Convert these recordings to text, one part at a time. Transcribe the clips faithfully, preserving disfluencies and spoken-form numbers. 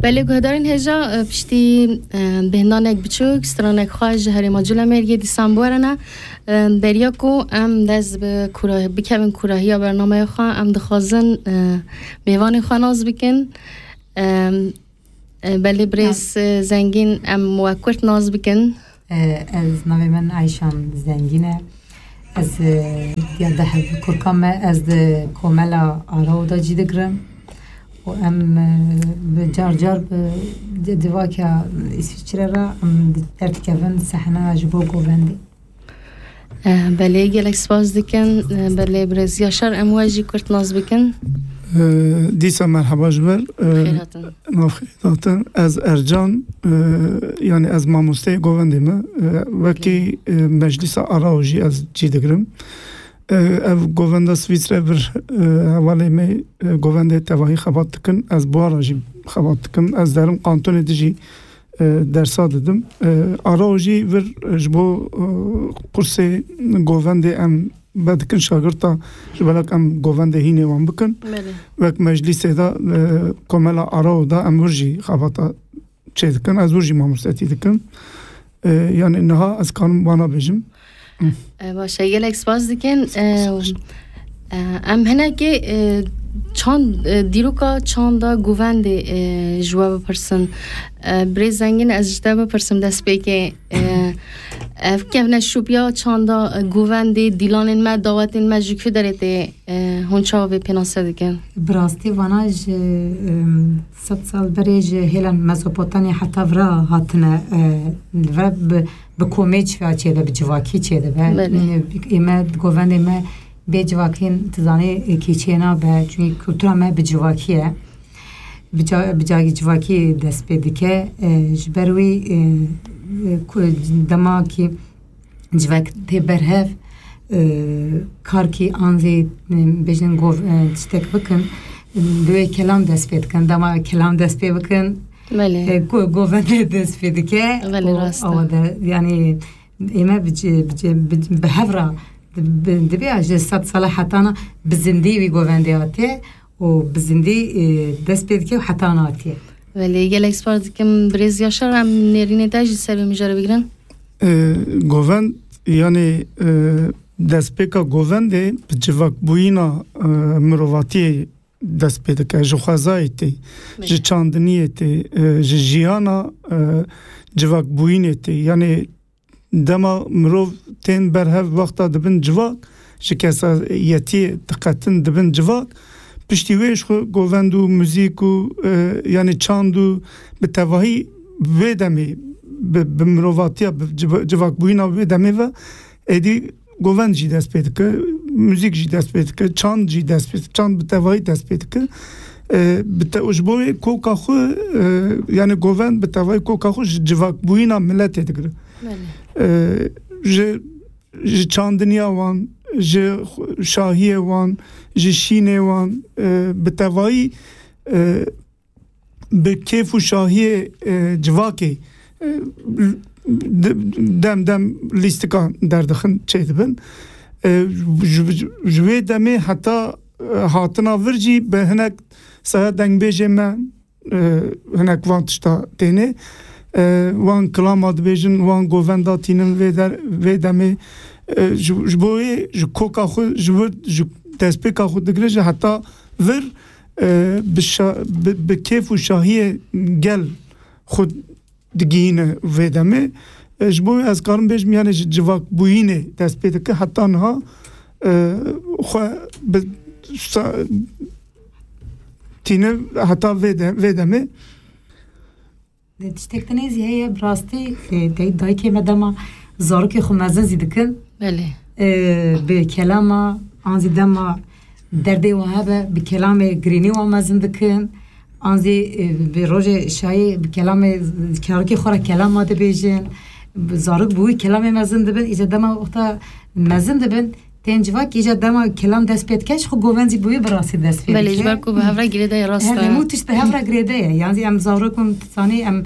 Belê guhdarên hêja, e, piştî, e, bêhnanek biçûk, stranek xwe ji herêma Culemêrgê dîsan biwerine, e, beriya ku em dest bi kura-, bikevin kurahiya bernameya xwe, em dixwazin, e, mêvanê xwe nas bikin. E, e, belê birêz, e, Zengîn, em we kurt nas bikin. E, ez navê min Eyşan Zengîn e. Ez, e, ya de hev-, kurka me, ez di komela Arao de cî digirim. Û em, e, bi car car bi di-, civaka Îsviçre re em derdikevin sehne ji bo govendê. E, belê, gelek spas dikin. E, belê, birêz Yaşar, em we jî kurt nas bikin. E, dîsa merheba ji ber. E, Xêr hatin. Nav xêr hatin. Ez Ercan, e, yani ez mamosteyê govendê me. E, wekî, e, meclîsa Arao jî ez cî digirim. E, ev govenda Swîsre vir, e, hevalê me, e, govendê tevahî xebat dikin. Ez buhara jî xebat dikim. Ez derim kantonê dijî, e, dersa didim. E, Arao jî vir, e, ji bo, e, kursê govendê em vedikin şagirta, ji belek em govendê hînê wan bikin. Belê. Wek meclîsê de, e, komela Arao da em wir jî xebata çê dikin. Ez wir jî mamostetî dikim. E, yani niha ez karim vana bêjim. E, baş e, gelek spas dikin. E, e, em hinekê, e, çand, e, dîroka çanda govendê, e, ji we bipirsin. E, birêz Zengîn, ez ji te bipirsim destpêkê. E, ev kevneşopiya çanda, e, govendê, dîlanên me, dawetên me ji ku derê tê, e, hûn çawa vê pênase dikin? Bi rastî vana ji, em, sed sal berê ji hêlan Mezopotamya heta vira hatine, e, ve bi, bi komê çiya çêde, bi civakî çêde be. Belê. Ê me, govendê me bê civakî, tu zanî, e, kî çê nabe, çünkü kultura me bi civakî ye. Bi ca-, bi cagî civakî dest pê dike. E, ji ber wî, e, e, ku-, dema kî civak tê berhev, e, kar kî an zî, e, bêjin gov-, e, tiştek bikin, e, divê kelam dest pê dikin. Dema kelam dest pê bikin, Belê. e, go-, govende dest pê dike. Belê, Û rast e. awa de, yani, ê me bi ci-, bi ci-, bi, bi hev re, bi, divê ji sed sala hetana bi zindî wî govendê hatiye û bi zindî, e, dest pê dike û hetana hatiye. Belê, gelek spas dikim birêz Yaşar, em nêrînê te jî ser vê mijarê bigirin. E, govend, yani, e, destpêka govendê bi civakbûyîna, e, mirovatiyê dest pê dike. Ji xwezayê tê, Belê. ji çandiniyê tê, e, ji jiyana, e, civakbûyînê tê. Yani dema mirov tên berhev wexta dibin civak, ji kesayetiyê diqetin dibin civak, piştî wê ji xwe govend û muzîk û, e, yani çand û bi tevahî wê demê bi, bi mirovatiya, bi civa-, civakbûyîna wê demê ve êdî govend jî dest pê dike, muzîk jî dest pê dike, çand jî dest pê, çand bi tevahî dest pê dike. E, bi te-, ji bo wê koka xwe, e, yani govend bi tevahî koka xwe ji civakbûyîna miletê digire. Belê. E, ji, ji çandiniya wan, ji xwe-, şahiyê wan, ji şînê wan, e, bi tevahî, e, bi kêf û şahiyê, e, civakê, e, de-, dem dem lîstika derdixin çêdibin. E, ji, ji, ji wê demê heta, e, hatina vir jî bi hinek saya dengbêjê me, e, hinek van tişta têne. E, wan kilama dibêjin, wan govenda tînin vê der-, vê demê. E, ji, ji bo wê ji koka xwe, ji wir, ji destpêka xwe digire ji heta vir, e, bi şa-, bi, bi kêf û şahiyê gel xwe digihîne vê demê. E, ji bo wê ez karim bêjim, yani ji civakbûyînê dest pê dike heta niha, e, xwe bi sa-, tîne heta vê de-, vê demê. Tiştek din zî heye, bi rastî, e, dey-, dayikê me dema zarokê xwe mezin zî dikin. Belê. E, bi kelama, an zî dema derdê wan hebe, bi kelamê girînî wan mezin dikin. An zî, e, bi rojê şayê bi kelamê, zarokê xwe re kelama dibêjin. Bi zarok bi wî kelamê mezin dibin. Îca dema wexta mezin dibin, tên civak, îca dema kelam dest pê dike, ji xwe govend zî bi wî bi rastî dest pê Belê, dike. ji ber ku bi hev re girêde ye, rast Her e. hemû tişt bi hev re girêde ye. Yan zî em zarok û, zanî, em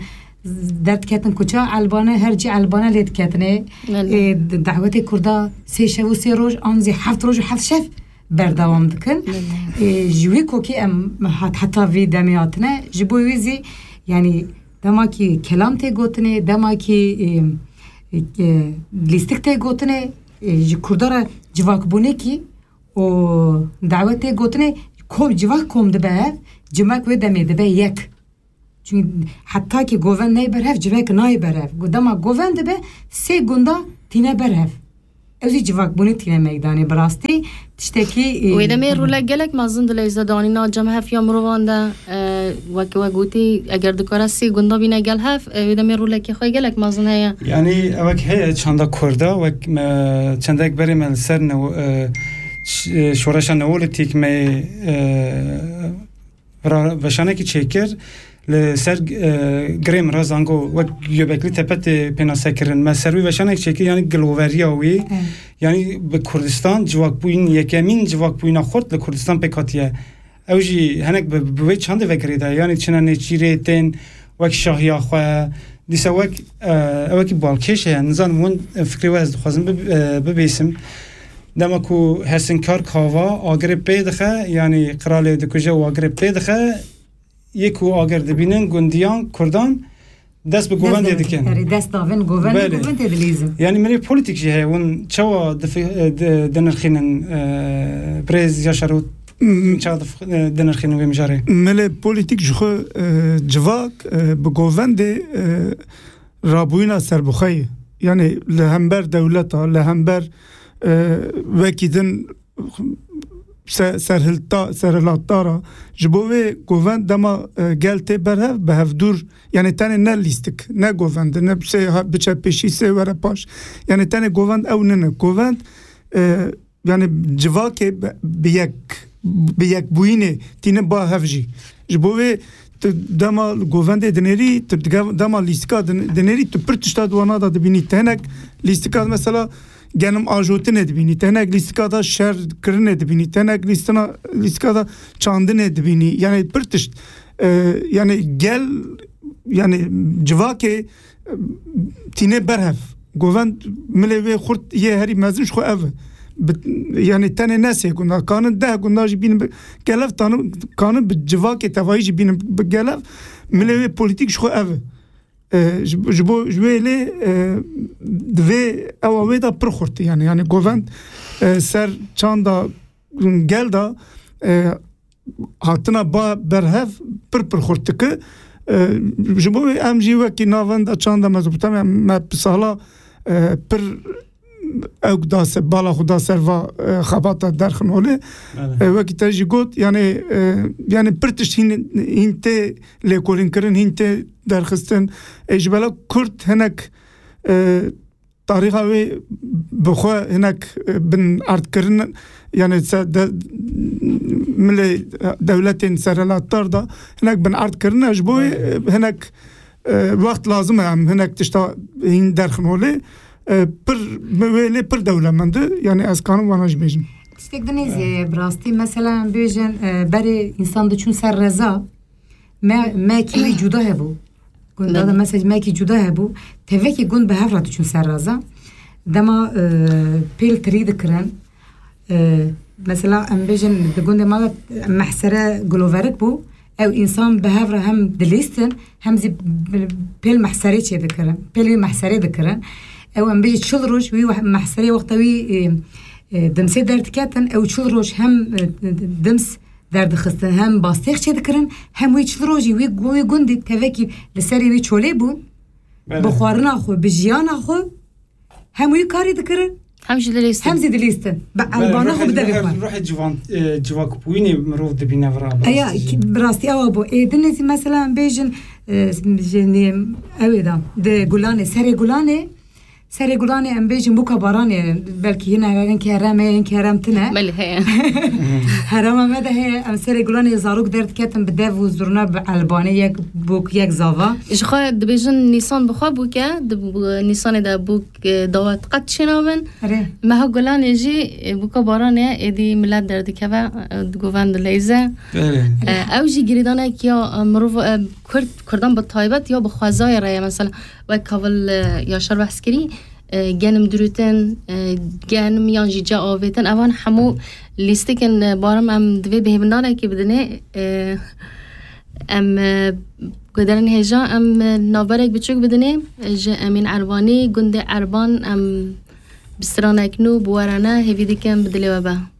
derdiketin kuça, elbane, her cî elbane lê diketine. Belê. Ê, d-, dawetê Kurda sê şev û sê roj, an zî heft roj û heft şev berdewam dikin. Belê. Ê, ji wî kokê em hat-, heta vî demê hatine. Ji bo wî zî Yani dema ki kelam tê gotinê, dema ki, e, e, lîstik tê gotinê, e, ji Kurda re civakbûnekî û dawet tê gotinê kom, civak kom dibe hev, cimek wê demê dibe yek. Çünkü heta ki govend neyê ber hev, civek nayê ber hev. Gu-, dema govend dibe, sê gunda tîne ber hev. Ew jî civakbûnê tîne meydanê bi rastî. Tiştekî, e, Wê demê rolek gelek mezin dileyze danîna cem hef ya mirovan de, e, wek we gotî, eger dikare sê gunda bîne gel hef, e, wê demê rolekê xwe gelek mezin heye. Yani, ewek heye çanda Kurda, wek me, çendek berê me li ser newo-, e, ş-, e, şoreşa Neolîtîk me, e, ra-, veşanekî çêkir, li ser, e, girê min re zango wek Göbekli Tepe tê pênasekirin. Me ser wî veşanek çêkir, yani giloveriya wî, Evet. yani bi Kurdistan civakbûyîn, yekemîn civakbûyîna xurt li Kurdistan pêk hatiye. Ew jî hinek bi, bi wê çandê ve girêdaye, yani çine nêçîrê tên wek şahiya xwe, dîsa wek, e, ewekî balkêş heye, nizanim hûn, e, fikrê we ez dixwazim bib-, e, bibêsim. Dema ku Hesinkar Kava agirê pê dixe, yani qiralê dikuje û agirê pê dixe, yê ku agir dibînin gundiyan Kurdan dest bi govendê dikin. Erê, dest davin govendê, Belê. Govendê dilîzin. Yani milê polîtîk jî heye, hûn çawa difi-, e, di-, dinirxînin, e, birêz Yaşar û çawa dif-, e, dinirxînin wê mijarê? Milê polîtîk ji xwe, e, civak, e, bi govendê, e, rabûyîna serbixwe ye. Yani li hember dewleta, li hember, e, wekî din se-, serhilta-, serhilatdara. Ji bo wê govend dema, e, gel tê berhev, bi hevdûr, yani tenê ne lîstik, ne govend, ne sê ha-, biçe pêşî, sê were paş. Yani tenê govend ew nine. Govend, e, yani civakê bi, bi yek, bi yekbûyînê tîne ba hev jî. Ji bo wê tu dema govendê dinêrî, tu dige-, dema lîstika din-, dinêrî, tu pir tişta di wana de dibînî. Tenek lîstika mesela genim ajotinê dibînî, tenek lîstika da şer kirinê dibînî, tenek lîstina, lîstika da çandinê dibînî. Yani pir tişt, e, yani gel, yani civakê, e, tîne berhev. Govend milê wê xurt yê herî mezin ji xwe ev e. Bi, yani tenê ne sê gunda, kanin deh gunda jî bînin bi gelev, tanî kanin bi civakê tevayî jî bînin bi gelev. Milê wê polîtîk ji xwe ev e. E, ji, ji bo, ji wê lê, e, divê ewa wê de pir xurt, yani, yani govend, e, ser çanda gel de, e, hatina ba berhev pir pir xurt dike. E, ji bo wê em jî wekî navenda çanda Mezopotamya me bi sala, e, pir ew da ser, bala xwe da ser va, e, xebata derxin holê. Belê. E, wekî te jî got, yani, e, yani pir tişt hîn, hîn tê lêkolînkirin, hîn tê derxistin. E, ji bela Kurd hinek, e, tarîxa wê bi xwe hinek, e, bin erdkirin, yani se de, milê, e, dewletên serhilatdar da hinek bin erdkirin. Ji bo wê, e, hinek, e, wext lazim e em hinek tişta hîn derxin holê. E, pir, wê lê pir dewlemend e. Yani ez kanim wana jî bêjim. Tiştek din êzî ye, bi rastî mesela em bêjin, e, berê însan diçûn ser reza, me, me kî wî cuda hebû. Gunda da Belê. Mesela me kî cuda hebû. Tevekî gund bi hev re diçûn ser reza. Dema, e, pêl tirî dikirin. E, mesela em bêjin di gundê me de mehsere guloverik bû. Ew însan bi hev re hem dilîstin, hem zî bi-, pêl mehserê çê dikirin. Pêl wî mehserê dikirin. Ew em bêjin çil roj wî weh-, mehserê wexta wî, e, e, dimsê derdiketin, ew çil roj hem, e, dims derdixistin, hem bastêx çê dikirin, hem wî çil rojî wî gu-, wî gundî tevekî li serê wî çolê bûn. Belê. Bi xwarina xwe, bi jiyana xwe, hem wî karî dikirin, Hem jî dilîstin. Hem zî dilîstin. Bi Belê, elbana xwe ruhê, bi devê ruhê, xwe. Ruhê civan, e, civakbûyînê mirov dibîne vira, bi Eya, rastî jî. Ki-, bi rastî ewa bû. Ê, dinê zî mesela em bêjin, e, jinî, ew ê da, di gulanê, serê gulanê, serê gulanê em bêjin bûka baranê, belkî hîn herên kerem e, hîn kerem tine. Belê, heye. Herema me de heye, em serê gulanê zarok derdiketin bi dev û zurna bi elbanê yek bûk, yek zava. Ji xwe dibêjin Nîsan bi xwe bûk e, di bu-, Nîsanê de bûk, e, dawet qet çênabin. Erê. Meha gulanê jî, e, bûka baranê êdî milet derdikeve, e, di govend dileyze. Belê. E, ew jî girêdanek ya, e, mirov, e, Kurd, Kurdan bi taybet ya bi xwezayê re ye. Mesela, wek Kavil, e, Yaşar behs kirî, e, genim dirûtin, e, genim yan jî ca avêtin. Evan hemû lîstikin, e, barim em divê bihêvindanekê bidinê, e, Em e, guhdarên hêja, em e, navberek biçûk bidinê ji Emîn Erbanî, gundê Erban, em bi stranek nû, bi werane hêvî dikim bi dilê we be.